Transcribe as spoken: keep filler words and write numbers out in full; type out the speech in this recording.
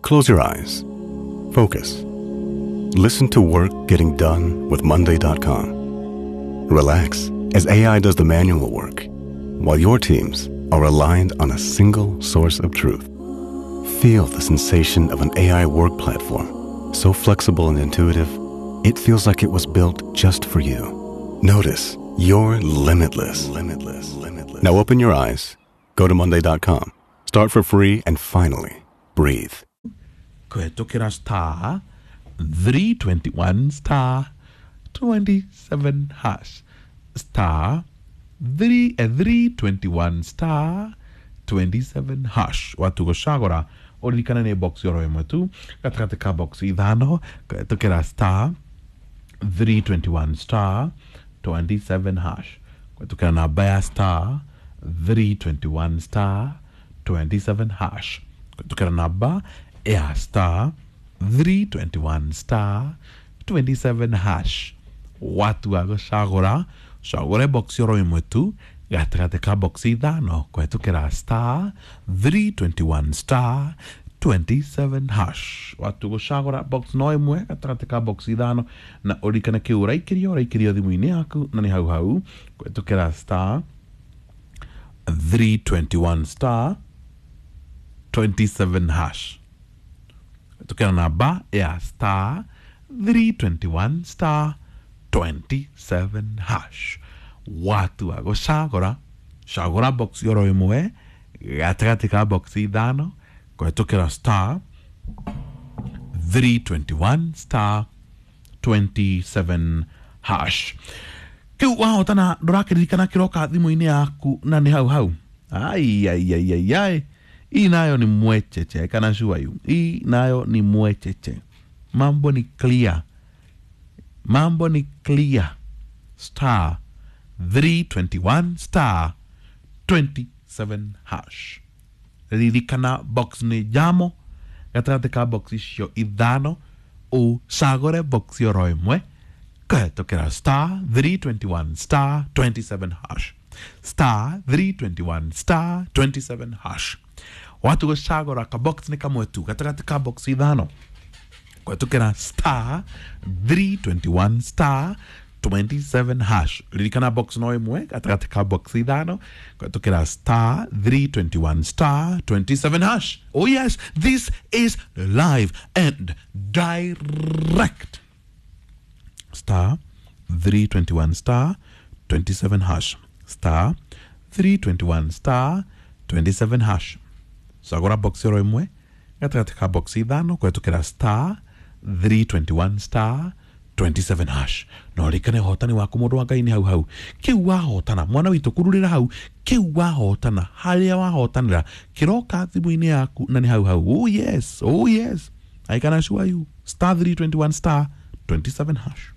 Close your eyes. Focus. Listen to work getting done with Monday dot com. Relax as A I does the manual work, while your teams are aligned on a single source of truth. Feel the sensation of an A I work platform, so flexible and intuitive, it feels like it was built just for you. Notice you're limitless. Limitless. Limitless. Now open your eyes, go to Monday dot com, start for free, and finally breathe. Kũhetũkĩra star three twenty-one star twenty-seven hash, star three, eh, three twenty-one star twenty-seven hash. Watu gũcagũra ũririkane nĩ box oro ĩmwe tu gatagatĩ ka box ithano kũhetũkĩra star three twenty-one star twenty-seven hash, kũhetũkĩra namba ya star three twenty-one star twenty-seven hash, kũhetũkĩra namba ya star three twenty-one star twenty-seven hash. Watu wa gũcagũra cagũre box oro ĩmwe tu gatagatĩ ka box ithano kũhetũkĩra star three twenty-one star twenty-seven hash. Watu gũcagũra box no ĩmwe gatagatĩ ka box ithano na ũririkane kĩu ũraikĩrio ũraikĩrio thimũ-inĩ yaku na nĩ hau hau kũhetũkĩra star three twenty-one star twenty-seven hash, kũhetũkĩra namba ya star three twenty-one star twenty-seven hash. Watu wa gũcagũra cagũra box oro ĩmwe gatagatĩ ka box ithano kũhetũkĩra star three twenty-one star twenty-seven hash. Kĩu wahotana ndũrakĩririkana kĩroka thimũ-inĩ yaku na nĩ hau hau. Ai, ai, ai, ai, ai. Hii nayo ni mwecheche, kana sure you. Hii nayo ni mwecheche. Mambo ni clear. Mambo ni clear. Star three twenty-one star twenty-seven hash. Ririkana box ni jamo gatagatĩ ka box icio ithano ũcagũre box oro ĩmwe kũhetũkĩra star three twenty-one star twenty-seven hash, star three twenty-one star twenty-seven hash. Watu gũcagũra ka box nĩ kamwe tu gatagatĩ ka box ithano kũhetũkĩra star three twenty-one star twenty-seven hash. Ririkana box no ĩmwe gatagatĩ ka box ithano kũhetũkĩra star three twenty-one star twenty-seven hash. Oh yes, this is live and direct. Star three twenty-one star twenty-seven hash, star three twenty-one star twenty-seven hash. Cagũra box oro ĩmwe gatagatĩ ka box ithano kũhetũkĩra star three twenty-one star twenty-seven hash. Na ũririkane ũhotani waku mũndũ wa Ngai nĩ hau hau. Kĩu wahotana mwana witũ kururĩra hau, kĩu wahotana harĩa wahotanĩra kĩroka thimũ-inĩ yaku na nĩ hau hau. Oh yes, oh yes, I can assure you. Star three twenty-one star twenty-seven hash.